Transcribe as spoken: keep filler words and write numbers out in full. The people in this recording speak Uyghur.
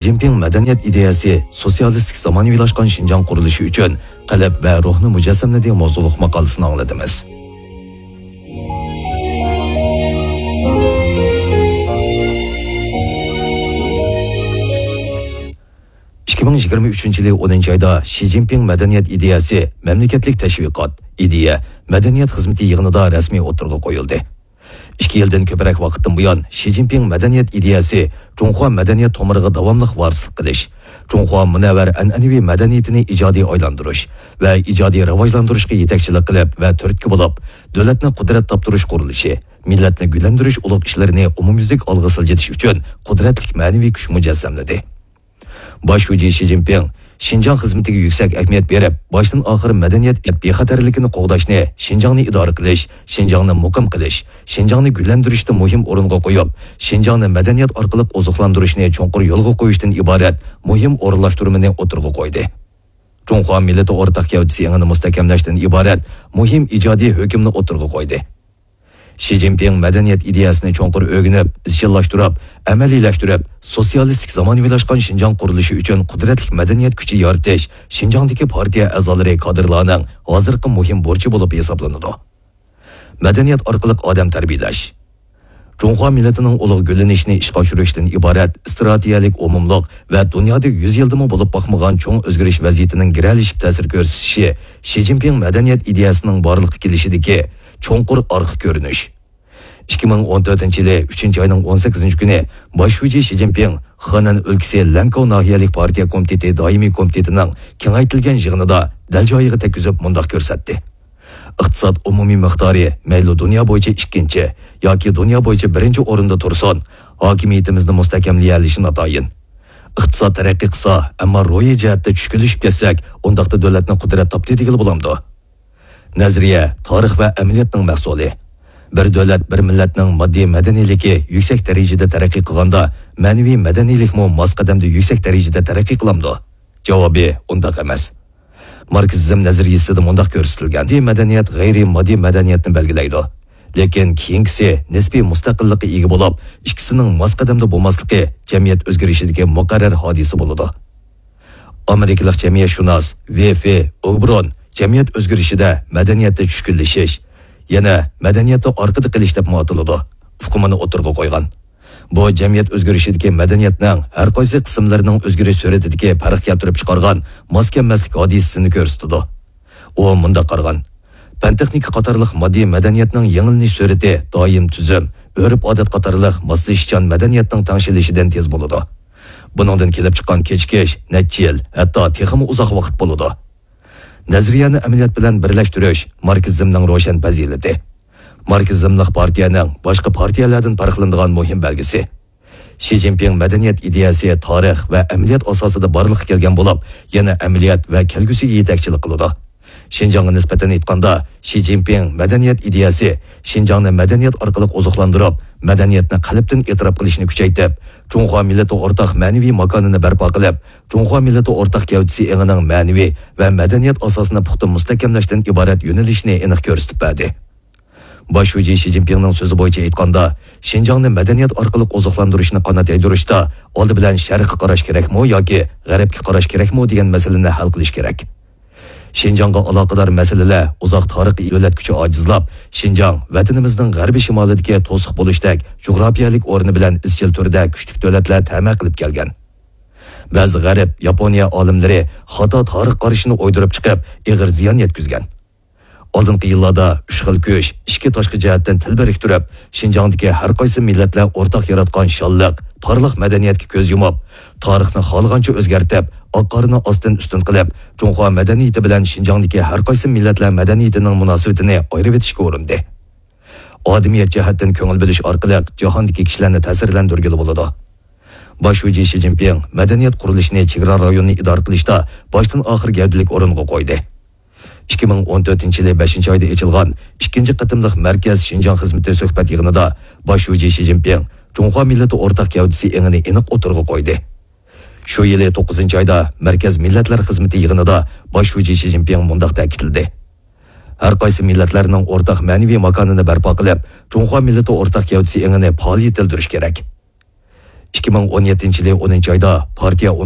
جىنپىڭ مەدەنىيەت ئىدىيەسى سوتسىيالىستىك زامانىۋىلاشقان شىنجاڭ قۇرۇلۇشى ئۈچۈن قەلب ۋە روھنى مۇجەسسەملىدى ماۋزۇلۇق ماقالىسىنى ئاڭلىدىڭىز. ئىككى مىڭ يىگىرمە ئۈچىنچى يىلى ئونىنچى ئايدا شى جىنپىڭ مەدەنىيەت ئىدىيەسى مەملىكەتلىك تەشۋىقات، ئىدىيە، مەدەنىيەت خىزمىتى يىغىنىدا رەسمىي ئوتتۇرىغا قويۇلدى. ئىككى يىلدىن كۆپرەك ۋاقىتتىن بۇيان، شى جىنپىڭ مەدەنىيەت ئىدىيەسى جۇڭخۇا مەدەنىيەت تومۇرىغا داۋاملىق ۋارىسلىق قىلىش، جۇڭخۇا مۇنەۋۋەر ئەنئەنىۋى مەدەنىيىتىنى ئىجادىي ئايلاندۇرۇش ۋە ئىجادىي راۋاجلاندۇرۇشقا يېتەكچىلىك قىلىپ ۋە تۈرتكە بولۇپ، دۆلەتنى قۇدرەت تاپتۇرۇش قۇرۇلۇشى، مىللەتنى گۈللەندۈرۈش ئۇلۇغ ئىشلىرىنى ئومۇميۈزلۈك ئالغا سىلجىتىش ئۈچۈن قۇدرەتلىك مەنىۋى كۈچ مۇجەسسەملىدى. باش شۇجى شى جىنپىڭ شىنجاڭ خىزمىتىگە يۈكسەك ئەھمىيەت بېرىپ، باشتىن ئاخىر مەدەنىيەت بىخەتەرلىكىنى قوغداشنى، شىنجاڭنى ئىدارە قىلىش، شىنجاڭنى مۇقىم قىلىش، شىنجاڭنى گۈللەندۈرۈشتە مۇھىم ئورۇنغا قويۇپ، شىنجاڭنى مەدەنىيەت ئارقىلىق ئوزۇقلاندۇرۇشنى چوڭقۇر يولغا قويۇشتىن ئىبارەت مۇھىم ئورۇنلاشتۇرمىنى ئوتتۇرىغا قويدى. جۇڭخۇا مىللىتى ئورتاق گەۋدىسى ئېڭىنى مۇستەھكەملەشتىن ئىبارەت مۇھىم ئىجادىي ھۆكۈمنى ئوتتۇرىغا قويدى. شى جىنپىڭ مەدەنىيەت ئىدىيەسىنى چوڭقۇر ئۆگىنىپ، ئىزچىللاشتۇرۇپ، ئەمەلىيلەشتۈرۈپ، سوتسىيالىستىك زامانىۋىلاشقان شىنجاڭ قۇرۇلۇشى ئۈچۈن قۇدرەتلىك مەدەنىيەت كۈچى يارىتىش، شىنجاڭدىكى پارتىيە ئەزالىرى، كادىرلارنىڭ ھازىرقى مۇھىم بۇرچى بولۇپ ھېسابلىنىدۇ. مەدەنىيەت ئارقىلىق ئادەم تەربىيەلەش. جۇڭخۇا مىللىتىنىڭ ئۇلۇغ گۈللىنىشىنى ئىشقا ئاشۇرۇشتىن ئىبارەت ئىستراتېگىيەلىك ئومۇملۇق ۋە دۇنيادا يۈز يىلدىمۇ بولۇپ باقمىغان چوڭ ئۆزگىرىش ۋەزىيىتىنىڭ گىرەلىشىپ تەسىر كۆرسىتىشى شى جىنپىڭ مەدەنىيەت ئىدىيەسىنىڭ بارلىققا كېلىشىدىكى چوڭقۇر ئارقا كۆرۈنۈش. ئىككى مىڭ ئون تۆتىنچى يىلى ئۈچىنچى ئاينىڭ ئون سەككىزىنچى كۈنى باش شۇجى شى جىنپىڭ خېنەن ئۆلكىسى لەنكاۋ ناھىيەلىك پارتىيە كومىتېتى دائىمىي كومىتېتىنىڭ كېڭەيتىلگەن يىغىنىدا دەل جايىغا تەگكۈزۈپ مۇنداق كۆرسەتتى: ئىقتىساد ئومۇمىي مىقدارى مەيلى دۇنيا بويىچە ئىككىنچى ياكى دۇنيا بويىچە بىرىنچى ئورۇندا تۇرسۇن، ھاكىمىيىتىمىزنى مۇستەھكەملىيەلىشى ناتايىن. ئىقتىساد تەرەققىي قىلسا، ئەمما روھىي جەھەتتە چۈشكۈنلىشىپ كەتسەك، ئۇنداقتا دۆلەتنى قۇدرەت تاپتى دېگىلى بولامدۇ؟ نەزەرىيە، تارىخ ۋە ئەمەلىيەتنىڭ مەھسۇلى. بىر دۆلەت، بىر مىللەتنىڭ ماددىي مەدەنىيلىكى يۈكسەك دەرىجىدە تەرەققىي قىلغاندا، مەنىۋى مەدەنىيلىكمۇ ماس قەدەمدە يۈكسەك دەرىجىدە تەرەققىي قىلامدۇ؟ جاۋابى ئۇنداق ئەمەس. ماركسىزم نەزەرىيىسىدە مۇنداق كۆرسىتىلگەن: ماددىي مەدەنىيەت غەيرىي ماددىي مەدەنىيەتنى بەلگىلەيدۇ. لېكىن كېيىنكىسى نىسپىي مۇستەقىللىققا ئىگە بولۇپ، ئىككىسىنىڭ ماس قەدەمدە بولماسلىقى جەمئىيەت ئۆزگىرىشىدىكى مۇقەررەر ھادىسە بولىدۇ. ئامېرىكىلىق جەمئىيەتشۇناس ۋېفې ئوبرون جەمئىيەت ئۆزگىرىشىدە مەدەنىيەتتە چۈشكۈنلىشىش، يەنە مەدەنىيەتتە ئارقىدا قېلىش دەپمۇ ئاتىلىدۇ، ئۇقۇمىنى ئوتتۇرىغا قويغان. بۇ جەمئىيەت ئۆزگىرىشىدىكى مەدەنىيەتنىڭ ھەر قايسى قىسىملىرىنىڭ ئۆزگىرىش سۈرئىتىدىكى پەرق كەلتۈرۈپ چىقارغان ماس كەلمەسلىك ھادىسىسىنى كۆرسىتىدۇ. ئۇ مۇنداق قارىغان: پەن-تېخنىكا قاتارلىق ماددىي مەدەنىيەتنىڭ يېڭىلىنىش سۈرئىتى دائىم تۈزۈم، ئۆرپ-ئادەت قاتارلىق ماسلىشىشچان مەدەنىيەتنىڭ تەڭشىلىشىدىن تېز بولىدۇ. بۇنىڭدىن كېلىپ چىققان كېچىكىش نەچچە يىل، ھەتتا تېخىمۇ ئۇزاق ۋاقىت بولىدۇ. نەزەرىيەنى ئەمەلىيەت بىلەن بىرلەشتۈرۈش ماركسىزمنىڭ روشەن پەزىلىتى. ماركسىزملىق پارتىيەنىڭ باشقا پارتىيەلەردىن پەرقلىنىدىغان مۇھىم بەلگىسى. شى جىنپىڭ مەدەنىيەت ئىدىيەسى تارىخ ۋە ئەمەلىيەت ئاساسىدا بارلىققا كەلگەن بولۇپ، يەنە ئەمەلىيەت ۋە كەلگۈسىگە يېتەكچىلىك قىلىدۇ. شىنجاڭغا نىسبەتەن ئېيتقاندا، شى جىنپىڭ مەدەنىيەت ئىدىيەسى شىنجاڭنى مەدەنىيەت ئارقىلىق ئوزۇقلاندۇرۇپ، مەدەنىيەتنى قەلبتىن ئېتىراپ قىلىشنى كۈچەيتىپ، جۇڭخۇا مىللىتى ئورتاق مەنىۋى ماكانىنى بەرپا قىلىپ، جۇڭخۇا مىللىتى ئورتاق گەۋدىسى ئېڭىنىڭ مەنىۋى ۋە مەدەنىيەت ئاساسىنى پۇختا مۇستەھكەملەشتىن ئىبارەت يۆنىلىشىنى ئېنىق كۆرسىتىپ بەردى. باش شۇجى شى جىنپىڭنىڭ سۆزى بويىچە ئېيتقاندا، شىنجاڭنى مەدەنىيەت ئارقىلىق ئوزۇقلاندۇرۇشنى قانات يايدۇرۇشتا ئالدى بىلەن شەرققە قاراش كېرەكمۇ ياكى غەربكە قاراش كېرەكمۇ دېگەن مەسىلىنى ھەل قىلىش كېرەك. شىنجاڭغا ئالاقىدار مەسىلىلەر ئۇزاق تارىخىي دۆلەت كۈچى ئاجىزلاپ، شىنجاڭ ۋەتىنىمىزنىڭ غەربىي شىمالىدىكى توسۇق بولۇشتەك جۇغراپىيەلىك ئورنى بىلەن ئىزچىل تۈردە كۈچلۈك دۆلەتلەر تەمە قىلىپ كەلگەن. بەزى غەرب، ياپونىيە ئالىملىرى خاتا تارىخ قارىشىنى ئويدۇرۇپ چىقىپ، ئېغىر زىيان يەتكۈزگەن. ئالدىنقى يىللاردا ئۈچ خىل كۈچ ئىچكى تاشقى جەھەتتىن تىل بىرىكتۈرۈپ، شىنجاڭدىكى ھەر قايسى مىللەتلەر ئورتاق ياراتقان شانلىق، پارلاق مەدەنىيەتكە كۆز يۇمۇپ، تارىخنى خالىغانچە ئۆزگەرتىپ، ئاق قارنى ئاستىن ئۈستۈن قىلىپ، جۇڭخۇا مەدەنىيىتى بىلەن شىنجاڭدىكى ھەر قايسى مىللەتلەر مەدەنىيىتىنىڭ مۇناسىۋىتىنى ئايرىۋېتىشكە ئۇرۇندى. ئادىمىيەت جەھەتتىن كۆڭۈل بۆلۈش ئارقىلىق جاھاندىكى كىشىلەرنى تەسىرلەندۈرگىلى بولىدۇ. باش شۇجى شى جىنپىڭ مەدەنىيەت قۇرۇلۇشىنى چېگرا رايونىنى ئىدارە قىلىشتا باشتىن ئاخىر گەۋدىلىك ئورۇنغا قويدى. ئىككى مىڭ ئون تۆتىنچى يىلى بەشىنچى ئايدا ئېچىلغان ئىككىنچى قېتىملىق مەركەز شىنجاڭ خىزمىتى سۆھبەت يىغىنىدا باش شۇجى شى جىنپىڭ جۇڭخۇا مىللىتى ئورتاق گەۋدىسى ئېڭىنى ئېنىق ئوتتۇرىغا قويدى. شۇ يىلى توققۇزىنچى ئايدا مەركەز مىللەتلەر خىزمىتى يىغىنىدا باش شۇجى شى جىنپىڭ مۇنداق تەكىتلىدى: ھەر قايسى مىللەتلەرنىڭ ئورتاق مەنىۋى ماكانىنى بەرپا قىلىپ، جۇڭخۇا مىللىتى ئورتاق گەۋدىسى ئېڭىنى پائال يېتىلدۈرۈش كېرەك. ئىككى مىڭ ئون يەتتىنچى يىلى ئونىنچى ئايدا پارتىيە